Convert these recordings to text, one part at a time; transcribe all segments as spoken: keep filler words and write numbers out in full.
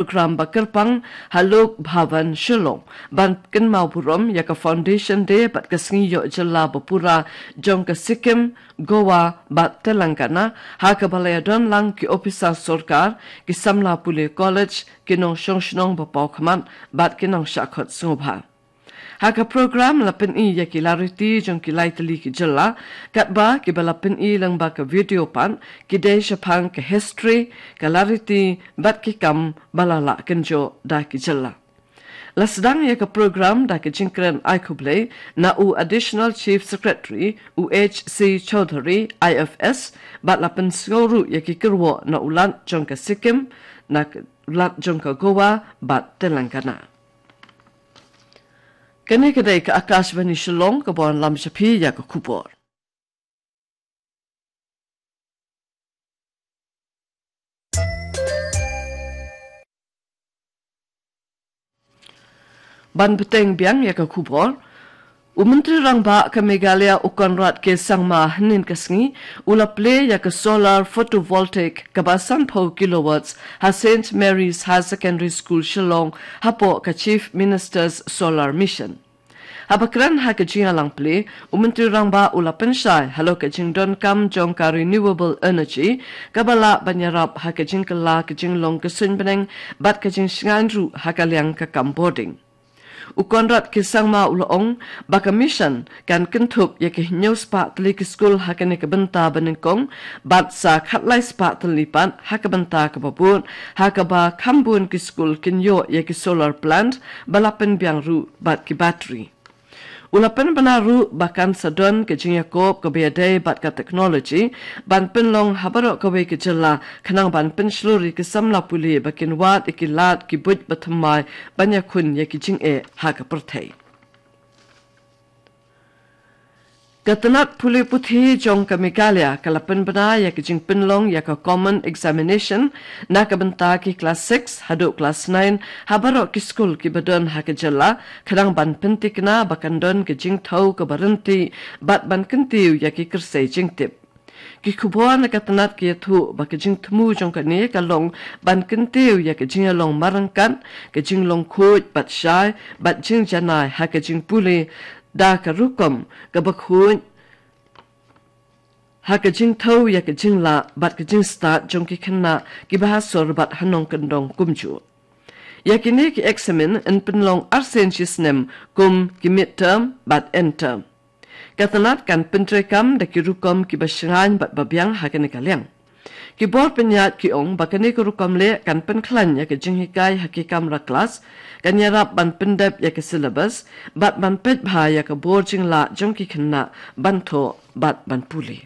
program ba kyrpang ha Lok Bhavan Shillong ban kynmaw burom ïa ka Foundation Day bad ka sngi ïoh jylla ba pura jong ka Sikkim, Goa bad Telangana, ha kaba la ïadon lang ki ophisar sorkar, ki samla pule college, ki nongshong shnong ba paw khmat bad ki nongshah khot sngewbha. Ha ka program la pyni ïa ki lariti jong ki lai tylli ki jylla, katba kiba la pyni lyngba ka video pat ki dei shaphang ka history, ka lariti bad ki kam ba la lah kynjoh da ki jylla. La sdang ïa ka program da ka jingkren ai khublei na u Additional Chief Secretary, u H C Chaudhary, I F S, bad la pynsngew ruh ïa ki kyrwoh na u Lat jong ka Sikkim, na u Lat jong ka Goa bad Telangana. Kane ka dei ka Akashvani Shillong kaba wanlam sha phi ïa ka khubor. Ban bteng biang ïa ka khubor. U Myntri Rangbah ka Meghalaya u Conrad K Sangma hynnin ka sngi u la plie ïa ka solar photovoltaic kaba sanphew kilowatts ha Saint Mary's Higher Secondary School Shillong hapoh ka Chief Minister's Solar Mission. Haba kren ha ka jingïalang plie, u Myntri Rangbah u la pynshai halor ka jingdonkam jong ka renewable energy kaba lah ban ïarap ha ka jingkylla ka jinglong ka suiñ bneng bad ka jingshngaiñ ruh ha ka liang ka kam bording. U Conrad K Sangma u la ong ba ka mission kan kynthup ïa ka hynñiew spah tylli ki skul ha kane ka bynta ba nyngkong bad sa khatlai spah tylli pat ha ka bynta kaba bud, ha kaba kham bun ki skul kin ïoh ïa ki solar plant ba la pynbiang ruh bad ki battery. U la pynbna ruh ba kan sa don ka jingïakob kaba ïadei bad ka technology ban pynlong ha baroh kawei ka jylla khnang ban pynshlur ïa ki samla pule ba kin wad ïa ki lad ki buit ba thymmai ban ïakhun ïa ki jingeh ha ka pyrthei. Ka tnat pule puthi jong ka Meghalaya ka la pynbna ïa ka jingpynlong ïa ka common examination na ka bynta ki klas six haduh klas nine ha baroh ki skul kiba don ha ka jylla khnang ban pyntikna ba kan don ka jingthew kaba ryntih bad ban kyntiew ïa ki kyrsei jingtip. Ki khubor na ka tnat ki ïathuh ba ka jingthmu jong kane ka long ban kyntiew ïa ka jingïalong marryngkat, ka jinglong khuid bad shai bad jingjanai ha ka jingpule da ka rukom kaba khuid ha ka jingthew ïa ka jinglah bad ka jingstad jong ki khynnah kiba ha sor bad ha nongkyndong kumjuh. Ïa kine ki eksamin yn pynlong arsien shi snem kum ki midterm bad endterm. Ka tnat kan pyntreikam da ki rukom kiba shngaiñ bad babiang ha kane ka liang. Ki bor pynïaid ki ong ba kane ka rukom leh kan pynkhlaiñ ïa ka jinghikai ha ki kamra klas, kan ïarap ban pyndep ïa ka syllabus bad ban peit bha ïa ka bor jinglah jong ki khynnah ban thoh bad ban pule.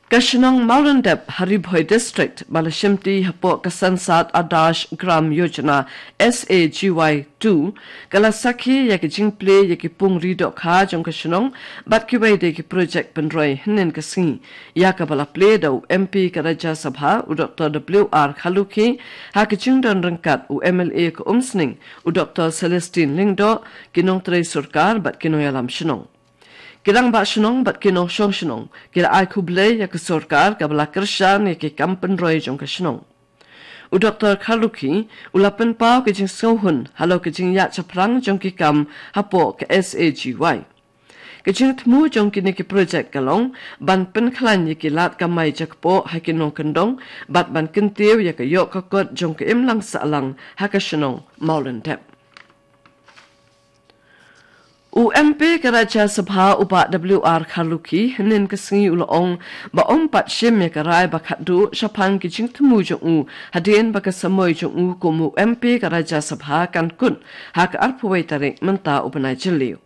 Ka shnong Mawlyndep ha Ri Bhoi District ba la shimti hapoh ka Sansad Adarsh Gram Yojana, S A G Y two, ka la sakhi ïa ka jingplie ïa ki pung ri dohkha jong ka shnong bad kiwei de ki projek pynroi hynnin ka sngi, ïa kaba la plie da u M P ka Rajya Sabha u Doctor W R Kharlukhi, ha ka jingdon ryngkat u M L A ka Umsning u Doctor Celestine Lyngdoh, ki nongtrei sorkar bad ki nongïalam shnong. Ki rangbah shnong bad ki nongshong shnong ki la ai khublei ïa ka sorkar kaba la kyrshan ïa ki kam pynroi jong ka shnong. U Doctor Kharlukhi u la pynpaw ka jingsngewhun halor ka jingïaid shaphrang jong ki kam hapoh ka S A G Y. Ka jingthmu jong kine ki projek ka long ban pynkhlaiñ ïa ki lad kamai jakpoh ha ki nongkyndong bad ban kyntiew ïa ka ïoh ka kot jong ka imlang sahlang ha ka shnong Mawlyndep. U M P ka Rajya Sabha u Bah W R Kharlukhi hynnin ka sngi u la ong ba um pat shim ïa ka rai ba khatduh shaphang ki jingthmu jong u hadien ba ka samoi jong u kum u M P ka Rajya Sabha kan kut ha ka arphew wei tarik mynta u bnai Jylliew.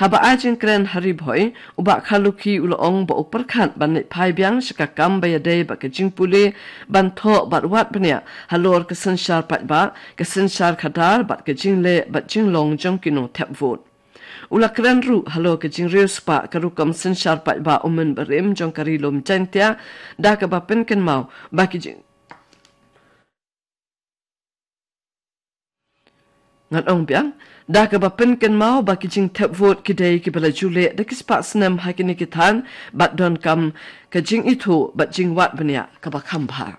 Haba ai jingkren ha Ri Bhoi, u Bah Kharlukhi u la ong ba u pyrkhat ban leit phai biang sha ka kam ba ïadei bad ka jingpule, ban thoh bad wad bniah halor ka synshar paidbah, ka synshar khadar bad ka jingleh bad jinglong jong ki nongthep vote. U la kren ruh halor ka jingriewspah ka rukom synshar paidbah u mynbarim jong ka Ri Lum Jaiñtia, da kaba pynkynmaw ba ki jing Ngan ong biang, da kaba pynkynmaw ba ki jingthep vote ki dei kiba la ju leh da ki spah snem ha kine ki thaiñ bad donkam ka jingithuh bad jingwad bniah kaba kham bha.